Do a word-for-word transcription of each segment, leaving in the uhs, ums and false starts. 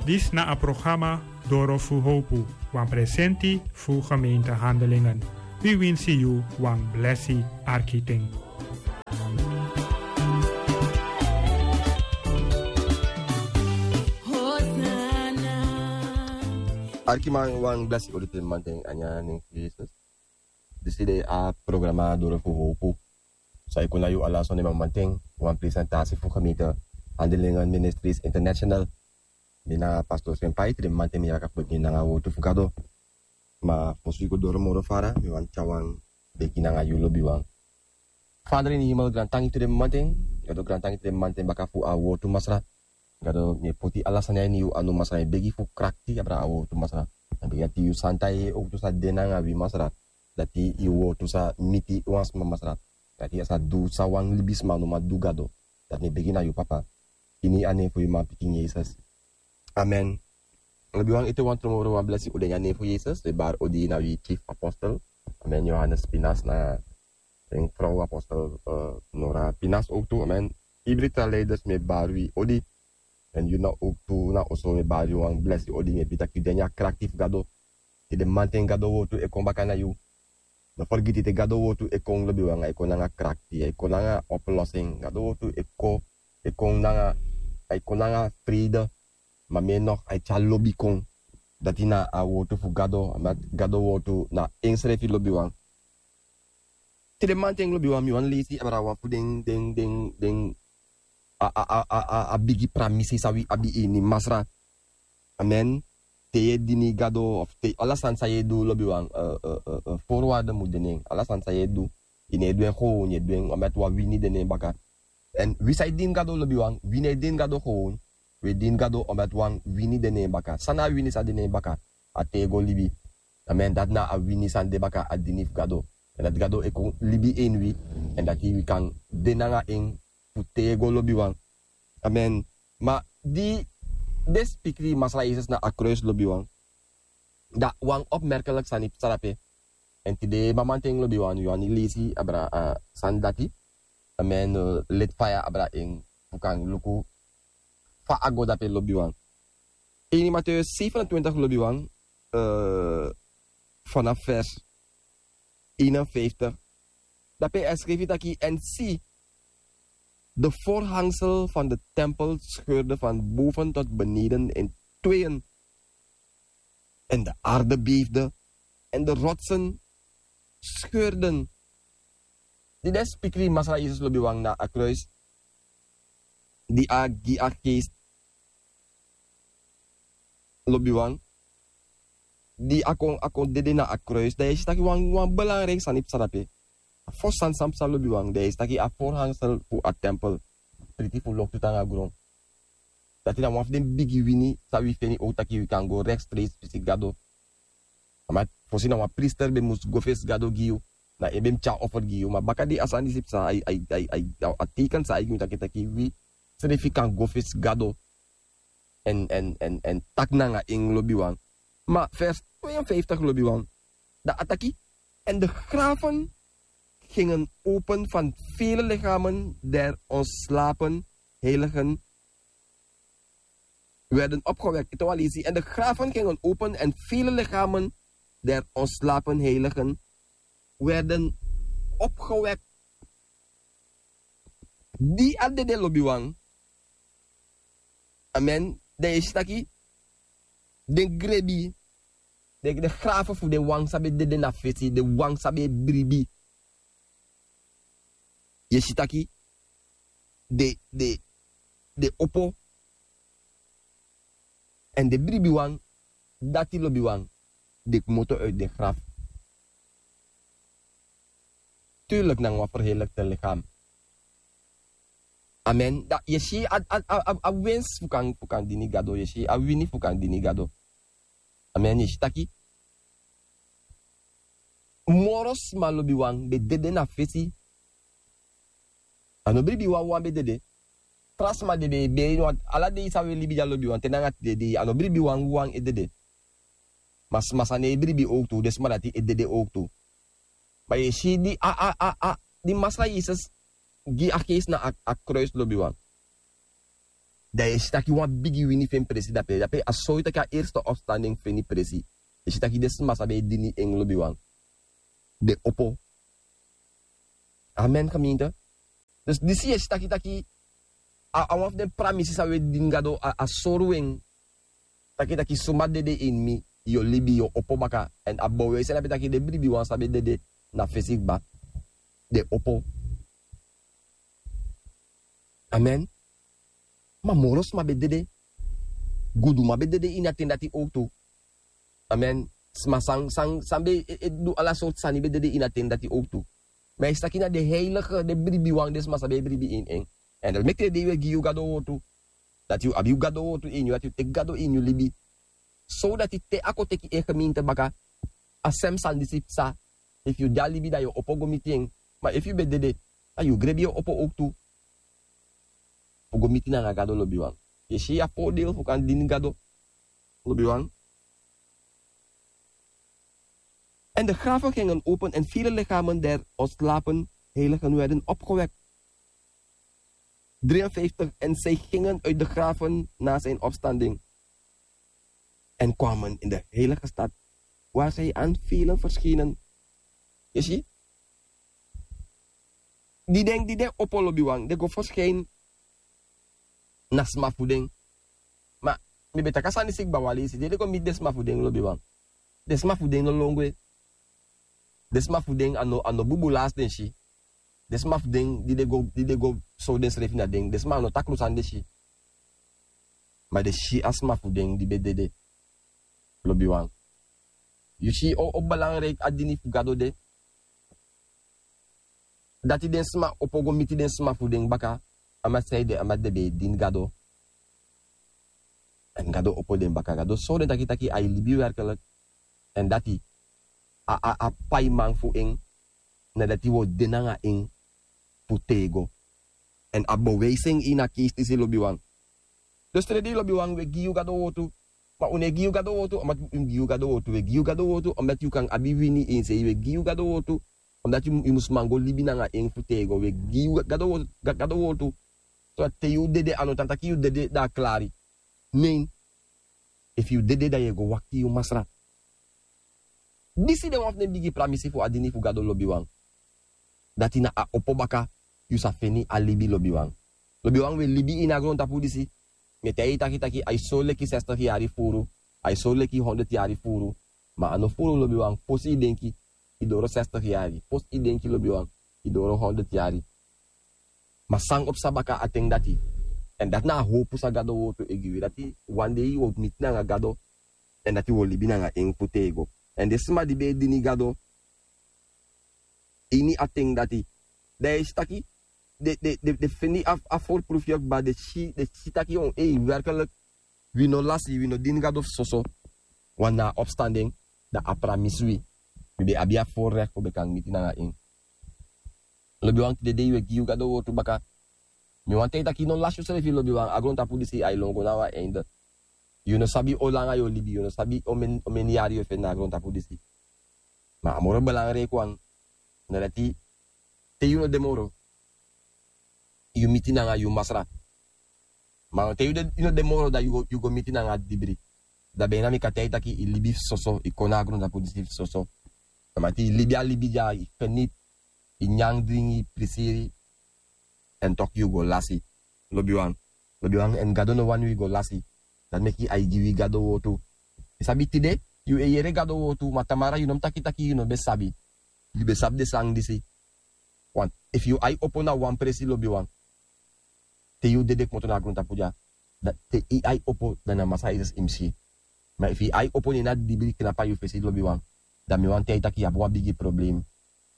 Disi na a programa Doro fu Howpu, wan presenti fu gemeente Handelingen. Wi winsi yu wan blesi arki ten. Arkiman, wan blesi odi te manten a nyan nen fu Jesus. Disi de a programa Doro fu Howpu. San e kon na yu ala sonde mamanten, wan presentatie fu gemeente Handelingen Ministries International. Mi na pastor Senpai, te den mamanten mi yaka fu begi nanga wortu fu Gado. Ma fosi wi go doro moro fara, mi wani tyari wan begi nanga yu lobiwan. Vader in de hemel, grantangi te den mamanten, Gado grantangi te den mamanten baka fu a wortu Masra. Gado, mi e poti ala sani a ini yu anu Masra, mi e begi fu krakti abra a wortu Masra. Mi e begi dati yu santa yeye owktu sa de nanga wi Masra. Dati yu wortu sa miti wan sma Masra. Dati a sa du san wan libisma no man du Gado. Dati mi e begi na yu Papa. Ini a nen fu yu manpikin Jesus. Amen. Lobiwan, ete wan tron moro wan blesi odi ini a nen fu Jesus. Wi e bari odi na wi chief apostel. Amen. Johannes Pinas na en frow apostel, eh, Nora Pinas owktu. Amen. Ibri tra leiders mi e bari wi odi. En yu na owktu na oso mi e bari yu wan blesi odi, mi e begi taki yu de ini a krakti fu Gado. Te den mamanten Gado wortu e kon baka na yu. No fergiti te Gado wortu e kon lobiwan, a e kon nanga krakti, a e kon nanga oplossing. Gado wortu e kon, e kon nanga, a e kon nanga vrede. Ma mi e nog a e tyari lobi kon. Dati na a wortu fu Gado, a Gado wortu na ensrefi lobiwan. Te den mamanten lobiwan mi wani leisi abra wan fu den, den, den, den, a, a, a, a, a, a bigi pramisi san wi abi ini Masra. Amen. Te yu e dini Gado, of te ala sani san yu e du lobiwan, eh, eh, eh, eh, voorwaarde mu de na en. Ala sani san yu e du, yu no e du en gewoon, yu e du en omdat wan wini de na en baka. En wi san e dini Gado lobiwan, wi no e dini Gado gewoon. Wi e dini Gado omdat wan wini de na en baka. San na a wini san de na en baka? A tego libi. Amen. Dati na a wini san de baka a dini fu Gado. En dati Gado e kon libi ini wi. En dati wi kan de nanga en fu tego lobiwan. Amen. Ma di den spikri Masra Jesus na a kruis lobiwan, dan wan opmerkelijk sani psa drape. En tide mamanten lobiwan, yu wani leisi abra, eh, sani dati. Amen. Eh, leti faya abra en fu kan luku fa a go drape lobiwan. Ini Mattheus zevenentwintig lobiwan, eh, vanaf vers eenenvijftig. Drape a e skrifi taki: En zie, de voorhangsel van de tempel scheurde van boven tot beneden in tweeën. En de aarde beefde, en de rotsen scheurden. Di den spikri Masra Jesus lobiwan na a kruis, di a gi a geest lobiwan, di a kon, a kon dede na a kruis, dan yu e si taki wan, wan belangrijk sani psa drape. A fosi sani san psa lobiwan, dan yu e si taki a voorhangsel fu a tempel priti fu loktu tan na gron. Dati na wan fu den bigi wini san wi feni owktu taki wi kan go rechtstreeks fesi Gado. Ma fosi na wan priester ben mus go fesi Gado gi yu, na en ben mus tyari offer gi yu. Ma baka di a sani disi psa, a, a, a, a, a teken san a e gi mi taki taki wi srefi kan go fesi Gado. En, en, en, en taki nanga en lobiwan. Ma vers tweeënvijftig lobiwan. Dan a taki: En de graven gingen open van vele lichamen der ontslapen heiligen werden opgewekt. Ete wan leisi: En de graven gingen open en vele lichamen der ontslapen heiligen werden opgewekt. Di a dede lobiwan. Amen. Dan yu e si taki den grebi, den, den graven fu den wan san ben dede na fesi, den wan san ben e bribi. Yu e si taki den, den, den opo. En den bribiwan, dati lobiwan, den kmoto uit den graf. Tuurlijk nanga wan verheerlijkte lichaam. Amen. Dan yu e si a, a, a, a, a winst fu kan, fu kan dini Gado, yu e si a wini fu kan dini Gado. Amen. Yu e si taki moro sma lobiwan ben dede na fesi. A no bribi wan wan ben dede. Tra sma de ben e beri, want ala dei san wi e libi dya lobiwan te nanga tide dei, a no bribi wan wan e dede. Ma sma san no e bribi owktu, den sma dati e dede owktu. Ma yu e si di a, a, a, a, di Masra Jesus gi a geest na a, a kruis lobiwan. Dan yu e si taki wan bigi wini feni presi dape dape a sori taki a erste opstanding feni presi. Yu e si taki den sma san ben e dini en lobiwan, den opo. Amen gemeente. Dus disi yu e si taki taki a wan fu den pramisi san wi e dini gado a sori wi en. Taki taki suma dede ini mi, yu o libi, yu o opo baka. Èn a bewijsi en na ben taki den bribiwan san ben dede na fesi kba, den opo. Amen. Ma moro sma ben dede. Guduman ben dede ini a ten dati owtu. Amen. Sma san san san ben e du ala sortu sani ben dede ini a ten dati owtu. Ma yu si taki na den heilige den bribiwan den sma san ben e bribi ini en. Èn dati meki den dei wi e gi yu gado wortu, dati yu abi yu gado wortu ini yu dati yu teki gado ini yu libi. Sowdati te a kon teki en gemeente baka, a sem sani disi psa. Efu yu de a libi dan yu o opo go miti en. Ma efu yu ben dede, dan yu grebi yu o opo owtu fu go miti nanga gado lobiwan. Yu e si a voordeel fu kan dini gado lobiwan. En de graven gingen open en vele lichamen der ontslapen heiligen werden opgewekt. Drieënvijftig. En zij gingen uit de graven na zijn opstanding en kwamen in de heilige stad, waar zij aan velen verschenen. Yu si? Di den di den opo lobiwan den go verschijnen na sma fu den. Ma mi ben taki a sani sikba wan leisi di den go miti den sma fu den lobiwan. Den sma fu den no lon gwe. Den sma fu den a no bubu lasi den si. Den sma fu den di den go sow densrefi na den den sma a no takru sani den si. Ma den si a sma fu den di ben dede. Lobiwan, yu si o belangriki a dini fu gado de. Dati den sma opo go miti den sma fu den baka. A mati san ede a mati den ben e dini gado. Èn gado opo den baka gado sori den taki taki a e libi werkelik. Èn dati a paiman fu en na dati wi o de nanga en fu tego. Èn a bewijsi en ini a keisi disi lobiwan. Dus te den dei lobiwan wi e gi yu gado wortu. Ma un no e gi yu gado wortu omdati un gi yu gado wortu wi e gi yu gado wortu omdati yu kan abi wini ini sei wi e gi yu gado wortu. Omdati yu mus man go libi nanga en fu tego wi e gi yu gado wortu. Sodati te yu dede a no tan taki yu dede dan a klari. Nei. Efu yu dede dan yu e go wakti yu masra. Disi de wan fu den bigi pramisi fu a dini fu gado lobiwan. Dati na a opo baka yu sa feni a libi lobiwan. Lobiwan wi e libi ini a grontapu disi. Mi e taigi yu taki taki a e sori leki sestigi yari furu. A e sori leki hondert yari furu. Ma a no furu lobiwan fosi yu denki yu doro sestigi yari fosi yu denki lobiwan yu doro hondert yari. Ma san o psa baka a ten dati. Èn dati na a howpu san gado wortu e gi wi dati wan dei wi o miti nanga gado. Èn dati wi o libi nanga en fu tego. Èn den sma di ben e dini gado ini a ten dati, dan yu e si taki den feni a forprufu yu kba den si taki on ei werkelik wi no lasi wi no dini gado fu soso. Wan na a opstanden dan a pramisi wi. Wi ben abi a forrekti fu ben kan miti nanga en. Lobiwan tide dei wi e gi yu gado wortu baka. Mi wani taigi taki yu no lasi yusrefi lobiwan a grontapu disi a e lon go na wan einde. Yu no sabi o langa yu o libi yu no sabi o meni yari yu e feni na a grontapu disi. Ma a moro belangriki wan na dati te yu no de moro yu miti nanga yu masra. Ma te yu no de moro dan yu go miti nanga dibri. Dan ben na mi kan taigi taki yu libi fu soso yu kon na a grontapu disi fu soso. Dati yu libi a libi dya yu feni yu nyan dringi yu prisiri. Èn toki yu go lasi. Lobiwan. Lobiwan èn gado no wani wi go lasi. Dati meki a e gi wi gado wortu. Yu sabi tide yu e yere gado wortu ma tamara yu no mus taki taki yu no ben sabi. Yu ben sabi den sani disi. Efu yu ai opo na wan presi lobiwan te yu dede kmoto na a grontapu dya. Te yu ai opo dan na masra yesus yu mus si. Ma efu yu ai opo ne na dibri knapu na yu fesi lobiwan. Dan mi wani taigi taki yu abi wan bigi problem.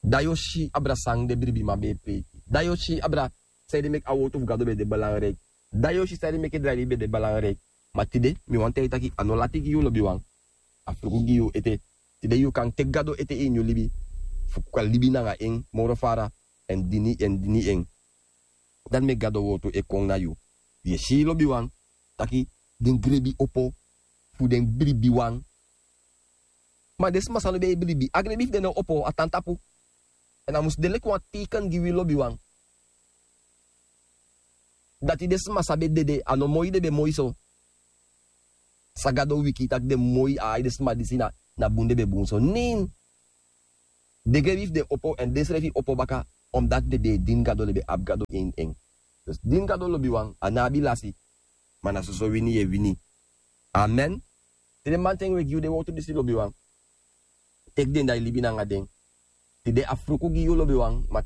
Dan yu o si abra san den bribiman ben e preiki. Dan yu o si abra san ede meki a wortu fu gado ben de belangriki. Dan yu o si san ede meki drai libi ben de belangriki. Ma tide mi wani taigi taki a no lati gi yu lobiwan. A fruku gi yu ete. Tide yu kan teki gado ete ini yu libi fu kan libi nanga en moro fara. Èn dini en dini en. Dati meki gado wortu e kon na yu. Yu e si lobiwan taki den grebi opo fu den bribiwan. Ma den sma san no ben e bribi a grebi fu den no opo a tan tapu. Èn a mus de leki wan teiken gi wi lobiwan. Dati den sma san be dede, a no moi den be moi so. San Gado wiki taki den moi, a ai den sma disi na, na bun den be bun so. Nen, den geri fu den opo, èn den srefi opo baka, omdat den be e dini Gado, den be abi Gado ini en. Dus dini Gado lobiwan, a no abi lasi, ma na soso wini yu e wini. Amen. Te den man ten we gi yu den wowtu disi lobiwan, teki den da yu libi nanga den. Tide a fruku gi yu lobiwan, ma